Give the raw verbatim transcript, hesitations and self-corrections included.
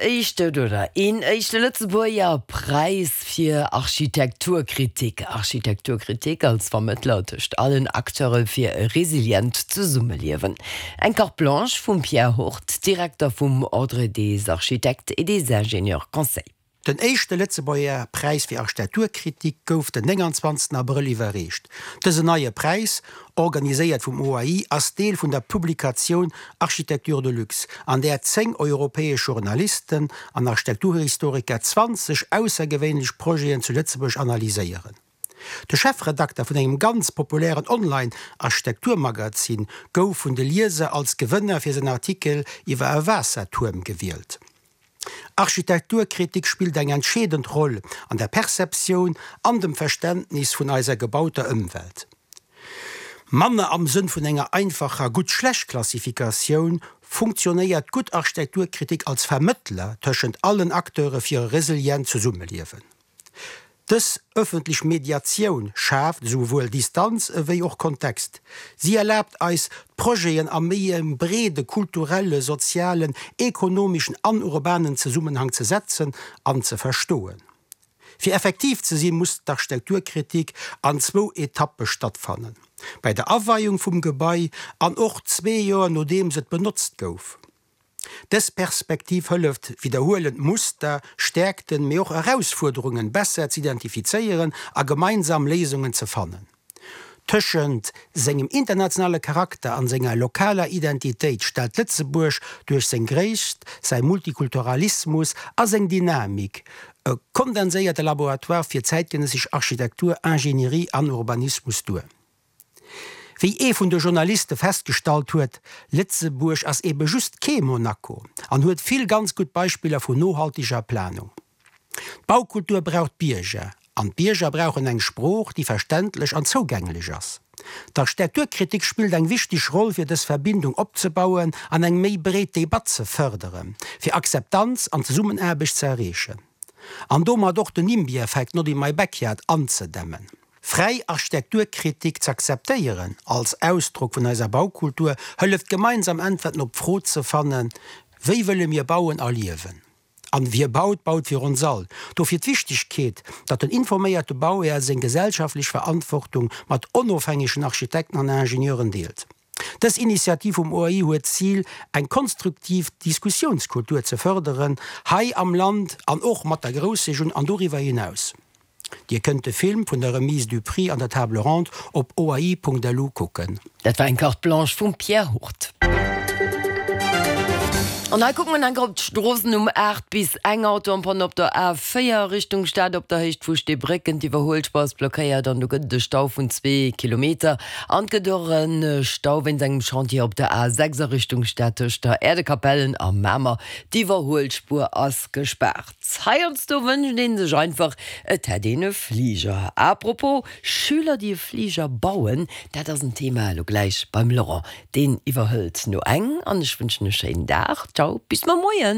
éischte oder een éischte Lëtzebuerger Präis fir Architekturkritik. Architekturkritik als Vermëttler tëscht allen Acteure fir e resilient Zesummeliewen. Eng Carte blanche vum Pierre Hurt, Direkter vum Ordre des architectes et des ingénieurs conseils. Den éischte Lëtzebuerger Präis fir Architekturkritik gouf den nénganzwanzegsten Abrëll iwwerreecht. Dësen neie Präis, organiséiert vum O A I, ass Deel vun der Publikatioun Architecture de luxe, an där zéng europäesch Journalisten an Architekturhistoriker zwanzeg aussergewéinlech Projeten zu Lëtzebuerg analyséieren. De Chefredakter vun engem ganz populären Online-Architekturmagazin gouf vun de Lieser als Gewënner fir säin Artikel iwwer e Waassertuerm gewielt. Architekturkritik spillt eng entscheedend Roll an der Perceptioun an dem Verständnis vun eiser gebauter Ëmwelt. Manner am Sënn vun enger einfacher Gutt-Schlecht-Klassifikatioun funktionéiert gutt Architekturkritik als Vermëttler tëschent allen Acteure fir e resilient Zesummeliewen. Dës ëffentlech Mediatioun schaaft esouwuel Distanz ewéi och Kontext. Si erlaabt eis, d'Projeten a méi e breede kulturellen, sozialen, ekonomeschen an urbanen Zesummenhang ze setzen an ze verstoen. Fir effektiv ze sinn, muss d'Architekturkritik an zwou Etappe stattfannen, bei der Aweiung vum Gebai an och zwee Joer nodeems et benotzt gouf. Dës Perspektiv hëlleft, widderhuelend Muster, Stäerkten, mee och Erausfuerderungen besser z'identifizéieren a gemeinsam Léisungen ze fannen. Tëschent sengem internationale Charakter an senger lokaler Identitéit stellt Lëtzebuerg duerch seng Gréisst, säi Multikulturalismus a seng Dynamik e kondenséierte Laboratoire fir zäitgenëssesch Architektur, Ingenierie an Urbanismus duer. Wéi ee vun de Journaliste festgestallt huet, Lëtzebuerg ass ebe just kee Monaco an huet vill ganz gutt Beispiller vun nohalteger Planung. D'Baukultur brauch d'Bierger, an d'Bierger brauchen eng Sprooch, déi verständlech an zougänglech ass. D'Architekturkritik spillt eng wichteg Roll fir dës Verbindung opzebauen an eng méi breet Debatt ze fërderen, fir Akzeptanz an Zesummenaarbecht ze erreechen. An domat och den NIMBY-Effekt, not in my backyard, anzedämmen. Fräi Architekturkritik z'akzeptéieren als Ausdrock vun eiser Baukultur hëlleft gemeinsam Äntwerten op d'Fro ze fannen, Wéi wëlle mir bauen a liewen? An wie baut, baut fir ons all. Dofir d'Wichtegkeet, datt den informéierte Bauhär seng gesellschaftlech Verantwortung mat onofhängegen Architekten an Ingenieuren deelt. Dës Initiativ vum O A I huet d'Zil, eng konstruktiv Diskussiounskultur ze fërderen, hei am Land an och mat der Groussregioun an doriwwer hinaus. Dir kënnt de Film vun der Remise du Prix an der Table Ronde op oai Punkt L U kucken. Dat war eng Carte blanche vum Pierre Hurt. An hei kucke mer nach op d'Stroossen um aacht bis eng. Auto en panne op der A véier Richtung Stad op der Héicht vu Steebrécken, d'Iwwerhuelspuer ass blockéiert an do gëtt et e Stau vun zwee Kilometer. An et gëtt och e Stau wéinst engem Chantier op der A sechs a Richtung Stad tëscht der Äerdekapellen a Mamer. D'Iwwerhuelspuer ass gespaart. Heiansdo wënscht een sech einfach, et hätt een e Fliger. Apropos Schüler, déi e Fliger bauen, dat ass en Thema elo gläich beim Laurent. Deen iwwerhëlt no eng an ech wënschen e schéinen Dag. Ciao, bis muer Moien.